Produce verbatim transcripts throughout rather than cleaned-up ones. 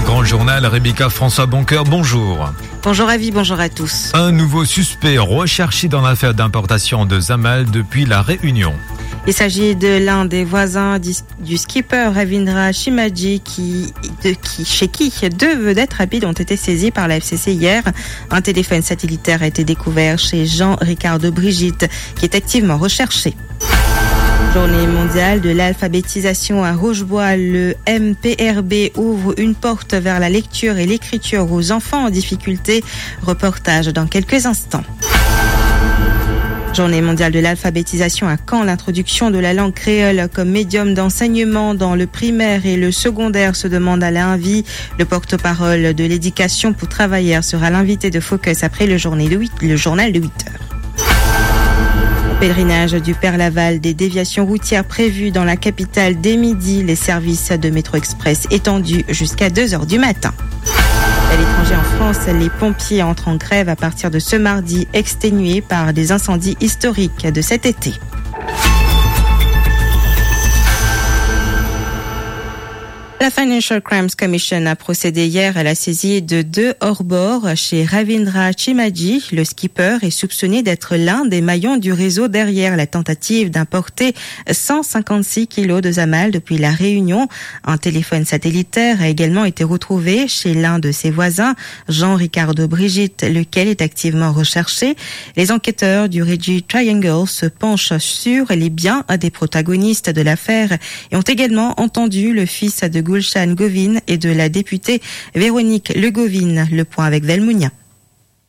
Grand Journal, Rebecca François Boncoeur, bonjour. Bonjour Avi, bonjour à tous. Un nouveau suspect recherché dans l'affaire d'importation de Zamal depuis La Réunion. Il s'agit de l'un des voisins du, du skipper Ravindra Shimaji qui, de, qui, chez qui deux vedettes rapides ont été saisies par la F C C hier. Un téléphone satellitaire a été découvert chez Jean Ricardo Brigitte, qui est activement recherché. Journée mondiale de l'alphabétisation à Roche-Bois, le M P R B ouvre une porte vers la lecture et l'écriture aux enfants en difficulté. Reportage dans quelques instants. Journée mondiale de l'alphabétisation à Caen, l'introduction de la langue créole comme médium d'enseignement dans le primaire et le secondaire se demande à la Invie. Le porte-parole de l'éducation pour travailleurs sera l'invité de Focus après le journée de huit, le journal de huit heures. Pèlerinage du Père Laval, des déviations routières prévues dans la capitale dès midi, les services de métro express étendus jusqu'à deux heures du matin. À l'étranger, en France, les pompiers entrent en grève à partir de ce mardi, exténués par des incendies historiques de cet été. La Financial Crimes Commission a procédé hier à la saisie de deux hors-bord chez Ravindra Chimaji. Le skipper est soupçonné d'être l'un des maillons du réseau derrière la tentative d'importer cent cinquante-six kilos de zamal depuis La Réunion. Un téléphone satellitaire a également été retrouvé chez l'un de ses voisins, Jean Ricardo Brigitte, lequel est activement recherché. Les enquêteurs du Régie Triangle se penchent sur les biens des protagonistes de l'affaire et ont également entendu le fils de Gulshan Govin et de la députée Véronique Le Govin. Le point avec Velmounia.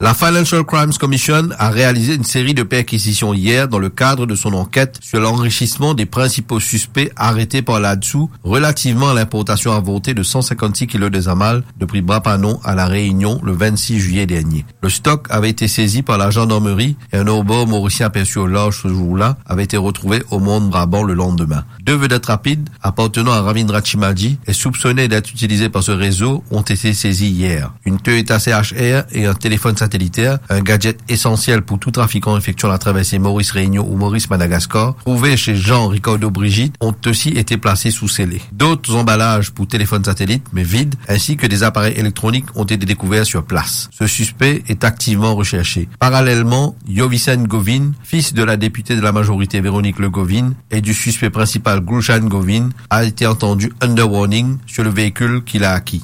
La Financial Crimes Commission a réalisé une série de perquisitions hier dans le cadre de son enquête sur l'enrichissement des principaux suspects arrêtés par l'ADSOU relativement à l'importation avortée de cent cinquante-six kilos de zamal depuis Bras-Panon à La Réunion le vingt-six juillet dernier. Le stock avait été saisi par la gendarmerie et un hors-bord mauricien aperçu au large ce jour-là avait été retrouvé au Mont Brabant le lendemain. Deux vedettes rapides appartenant à Ravindra Chimaji et soupçonnées d'être utilisées par ce réseau ont été saisies hier. Une Toyota C H R et un téléphone satellitaire, un gadget essentiel pour tout trafiquant effectuant la traversée Maurice-Réunion ou Maurice-Madagascar, trouvés chez Jean Ricardo Brigitte, ont aussi été placés sous scellés. D'autres emballages pour téléphone satellite, mais vides, ainsi que des appareils électroniques ont été découverts sur place. Ce suspect est activement recherché. Parallèlement, Yovisen Govin, fils de la députée de la majorité Véronique Le Govin et du suspect principal Gulshan Govin, a été entendu under warning sur le véhicule qu'il a acquis.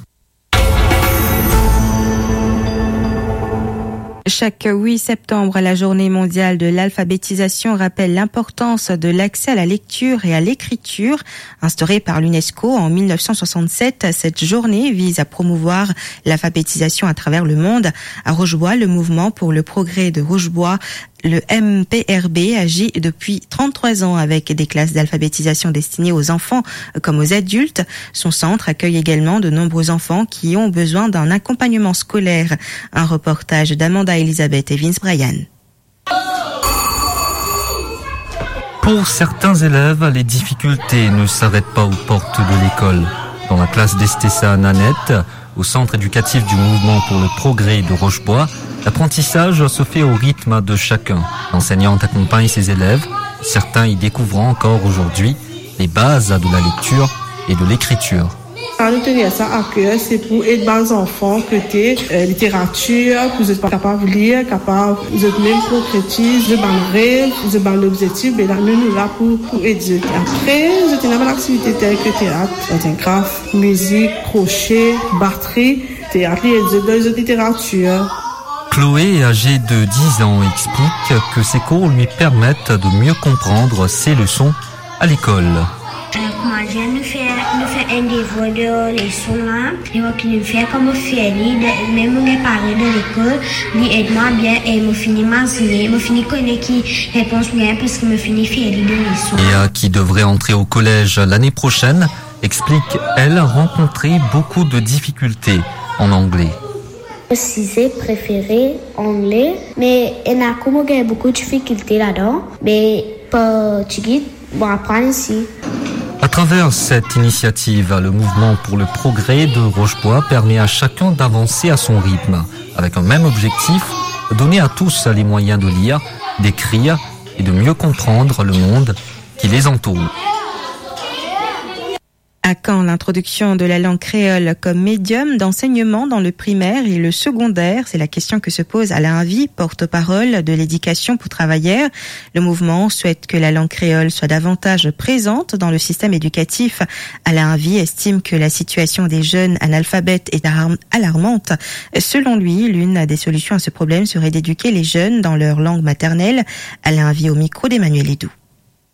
Chaque huit septembre, la journée mondiale de l'alphabétisation rappelle l'importance de l'accès à la lecture et à l'écriture. Instaurée par l'UNESCO en mille neuf cent soixante-sept, cette journée vise à promouvoir l'alphabétisation à travers le monde. À Roche-Bois, le mouvement pour le progrès de Roche-Bois, le M P R B, agit depuis trente-trois ans avec des classes d'alphabétisation destinées aux enfants comme aux adultes. Son centre accueille également de nombreux enfants qui ont besoin d'un accompagnement scolaire. Un reportage d'Amanda Elisabeth et Vince Bryan. Pour certains élèves, les difficultés ne s'arrêtent pas aux portes de l'école. Dans la classe d'Estessa Nanette, au centre éducatif du mouvement pour le progrès de Roche-Bois, l'apprentissage se fait au rythme de chacun. L'enseignante accompagne ses élèves, certains y découvrant encore aujourd'hui les bases de la lecture et de l'écriture. Sa nou tenir sa a ker, se pou ed bann zanfan kote, eh, literatir, pou zot kapav lir, kapav zot mem konkretiz zot bann rev, zot bann lobzektif, be la nou, nou la pou, pou ed zot. Apre, zot ena bann aktivite tel ke teat, art and craft, mizik, krosie, batri, teat, li ed zot dan zot literatir. Chloé, âgée de dix ans, explique que ces cours lui permettent de mieux comprendre ses leçons à l'école. Eh, kouma dir, nou fer, nou fer enn devwar dan leson la, e mo ki nou fer kan mo fer li, de, mem mo gagn pare dan lekol, li ed mwa bien e mo fini mazine, mo fini kone ki repons mo gagn parski mo fini fer li dan leson. Léa, qui devrait entrer au collège l'année prochaine, explique, elle, rencontrer beaucoup de difficultés en anglais. Mo size prefere angle, me ena kou mo gagn boukou difikilte ladan, me portigui mo aprann isi. À travers cette initiative, le mouvement pour le progrès de Roche-Bois permet à chacun d'avancer à son rythme, avec un même objectif, donner à tous les moyens de lire, d'écrire et de mieux comprendre le monde qui les entoure. À quand l'introduction de la langue créole comme médium d'enseignement dans le primaire et le secondaire ? C'est la question que se pose Alain Avy, porte-parole de l'Éducation pour travailleurs. Le mouvement souhaite que la langue créole soit davantage présente dans le système éducatif. Alain Avy estime que la situation des jeunes analphabètes est alarm-, alarmante. Selon lui, l'une des solutions à ce problème serait d'éduquer les jeunes dans leur langue maternelle. Alain Avy au micro d'Emmanuel Edou.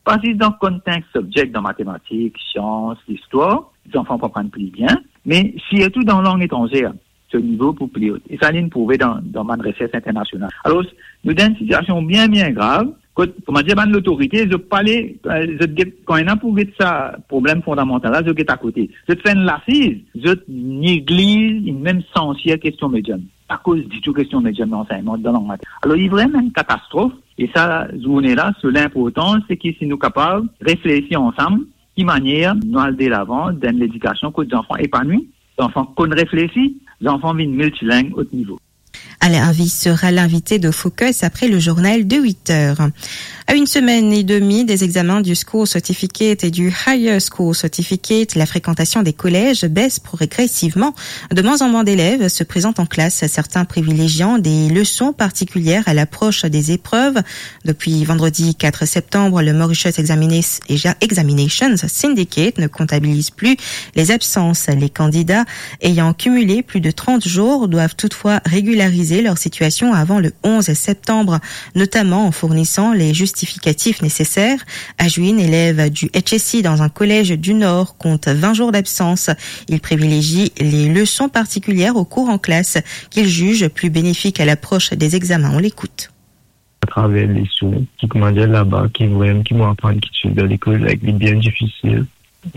Pa zis dan konn sink subject, dan matematik, sians, listwar, zanfan pou aprann pli bien, me sirtou dan lang etranzer, so nivo pou pli ot. E sa, linn prouve dan, dan bann resers internasional. Alor, nou dan enn sitiasion bien, bien grav, kot, kouma dir, bann lotorite, zot pa le, eh, zot get, kan ena pou get sa problem fondamantal la, zot get akote. Zot fer enn lasiz, zot negliz enn mem esansiel kestion medium. Pa koz ditou kestion medium lansegnman dan lang maternel. Alor, li vremem enn katastrof, e sa zourne la, so linportans, se ki si nou kapav reflesi ansam, ki manier nou al delavan dan ledikasion kot zanfan epanwi, zanfan konn reflesi, zanfan vinn miltiling ot nivo. Alain Avy sera l'invité de Focus après le journal de huit heures. À une semaine et demie des examens du School Certificate et du Higher School Certificate, la fréquentation des collèges baisse progressivement. De moins en moins d'élèves se présentent en classe, certains privilégiant des leçons particulières à l'approche des épreuves. Depuis vendredi quatre septembre, le Mauritius Examina-, Examinations Syndicate ne comptabilise plus les absences. Les candidats ayant cumulé plus de trente jours doivent toutefois régulariser leur situation avant le onze septembre, notamment en fournissant les justificatifs nécessaires. À Juin, élève du H S I dans un collège du Nord compte vingt jours d'absence. Il privilégie les leçons particulières aux cours en classe qu'il juge plus bénéfiques à l'approche des examens. On l'écoute. Atraver leson ki, kouma dir, laba, ki vremem, ki mo aprann, ki ti dan lekol, like, li bien difisil.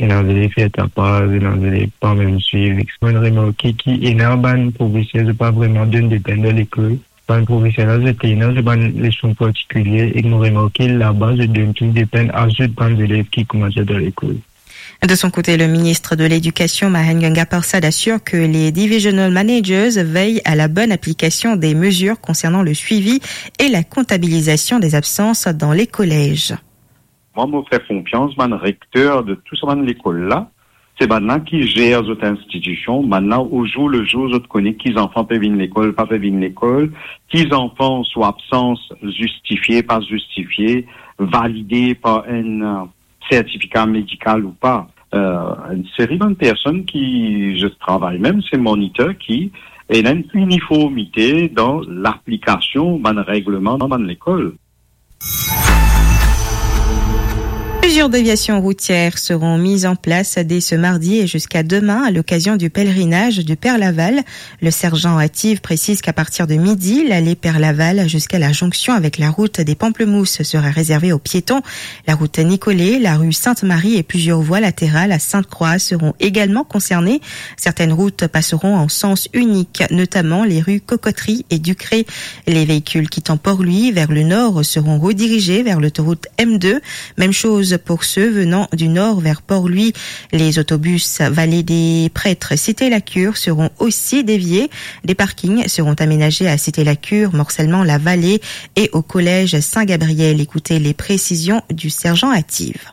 Ena zelev fer tapaz, ena zelev pa mem swiv. Mo remarke ki ena bann profeser, zot pa vremem donn depenn dan lekol. Bann profeser la, zot ena zot bann leson partikilie, e mo remarke laba, zot donn plis depenn a zot bann zelev ki, kouma dir, dan lekol. De son côté, le ministre de l'Éducation, Mahen Ganga Persad, assure que les divisional managers veillent à la bonne application des mesures concernant le suivi et la comptabilisation des absences dans les collèges. Mwa, mo fer konfians bann rekter de tou sa bann lekol la. Se bann la ki zer zot institision. Bann la, o zour le zour, zot kone ki zanfan pe vinn lekol, pa pe vinn lekol, ki zanfan so absans zistifie, pa zistifie, valide par enn, eh, sertifika medikal ou pa. Eh, enn seri bann personn ki zot travay mem, se monitor ki ena enn iniformite dan laplikasion bann regleman dan bann lekol. Plusieurs déviations routières seront mises en place dès ce mardi et jusqu'à demain à l'occasion du pèlerinage du Père Laval. Le sergent Ative précise qu'à partir de midi, l'allée Père Laval jusqu'à la jonction avec la route des Pamplemousses sera réservée aux piétons. La route Nicolet, la rue Sainte-Marie et plusieurs voies latérales à Sainte-Croix seront également concernées. Certaines routes passeront en sens unique, notamment les rues Cocoterie et Ducré. Les véhicules quittant Port-Louis vers le nord seront redirigés vers l'autoroute M deux. Même chose pour ceux venant du nord vers Port-Louis. Les autobus Vallée des Prêtres, Cité la Cure seront aussi déviés. Des parkings seront aménagés à Cité la Cure, Morcellement, La Vallée et au collège Saint-Gabriel. Écoutez les précisions du sergent Ative.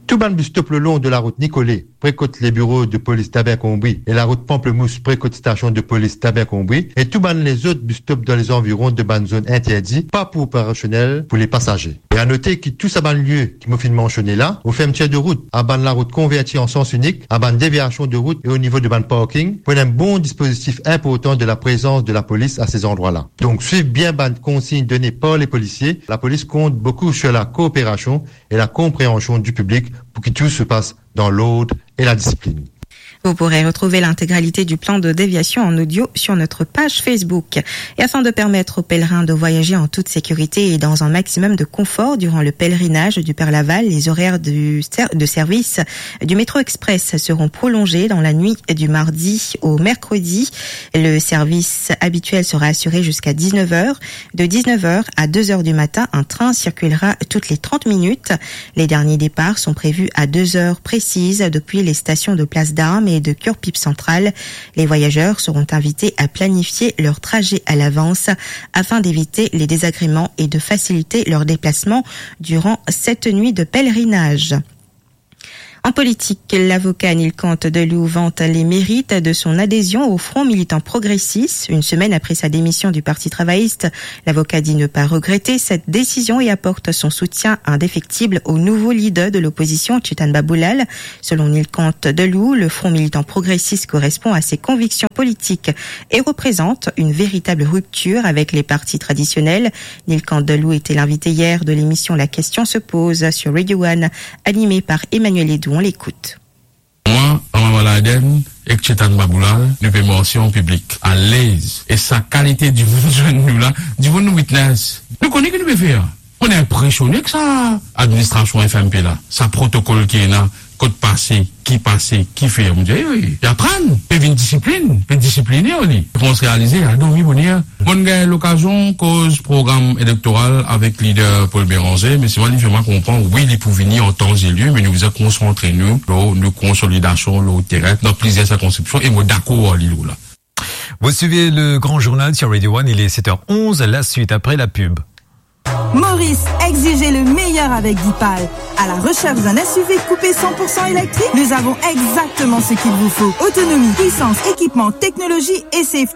Tou bann bus stop le long de la route Nicolet, pre kot le biro de polis Dabin-Konbri, e la route Pamplemousse, pre kot stasion de polis Dabin-Konbri, e tou bann lezot bus stop dan lezanviron de bann zonn interdi, pa pou operasionel pou le pasaze. E a note ki tou sa bann lie ki mo finn mansione la, o fermitir de rout, a bann larout konverti an sans inik, a bann deviasion de rout e o nivo de bann parking, pou ena enn bon dispozitif inportan de la prezans de lapolis a se zandrwa la. Donk, swiv bien bann konsign done par le polisie. Lapolis kont boukou sur la kooperasion e la konpreansion du piblik pou ki tou se pas dan lord e la disiplin. Vous pourrez retrouver l'intégralité du plan de déviation en audio sur notre page Facebook. Et afin de permettre aux pèlerins de voyager en toute sécurité et dans un maximum de confort durant le pèlerinage du Père Laval, les horaires du ser-, de service du métro express seront prolongés dans la nuit du mardi au mercredi. Le service habituel sera assuré jusqu'à dix-neuf heures. De dix-neuf heures à deux heures du matin, un train circulera toutes les trente minutes. Les derniers départs sont prévus à deux heures précises depuis les stations de Place d'Armes et de Cure-Pipe Centrale. Les voyageurs seront invités à planifier leur trajet à l'avance afin d'éviter les désagréments et de faciliter leur déplacement durant cette nuit de pèlerinage. En politique, l'avocat Nilkant Deloux vante les mérites de son adhésion au Front militant progressiste. Une semaine après sa démission du Parti travailliste, l'avocat dit ne pas regretter cette décision et apporte son soutien indéfectible au nouveau leader de l'opposition, Chetan Baboulal. Selon Nilkant Deloux, le Front militant progressiste correspond à ses convictions politiques et représente une véritable rupture avec les partis traditionnels. Nilkant Deloux était l'invité hier de l'émission La Question se pose sur Radio One, animée par Emmanuel Edou. On l'écoute. Mwa, Rama Baladen ek Chetan Baboulal, nou pe marse an piblik, alez. E sa kalite dimoun zwenn nou la, dimoun nou witness. Nou kone ki nou pe fer. Mo inpresione ek sa administrasion F M P la, sa protokol ki ena, kot pase, ki pase, ki fer. Mo dir, ey, ey, ey, aprann, pe vinn disiplinn, pe disipline, oli. Koumans realize, al dormi boner. Mo'nn gagn lokazion koz program elektoral avek lider Paul Bérenger, me selman li fer mwa konpran, wi, li pou vini an tan e lie, me nou bizin konsantre nou lor nou konsolidasion lor teren dan plizier sirkonskripsion, e mo dakor ar li lor la. Vous suivez le grand journal sur Radio One, il est sept heures onze, la suite après la pub. Maurice, exigez le meilleur avec Dipal. À la recherche d'un S U V coupé cent pour cent électrique ? Nous avons exactement ce qu'il vous faut. Autonomie, puissance, équipement, technologie et safety.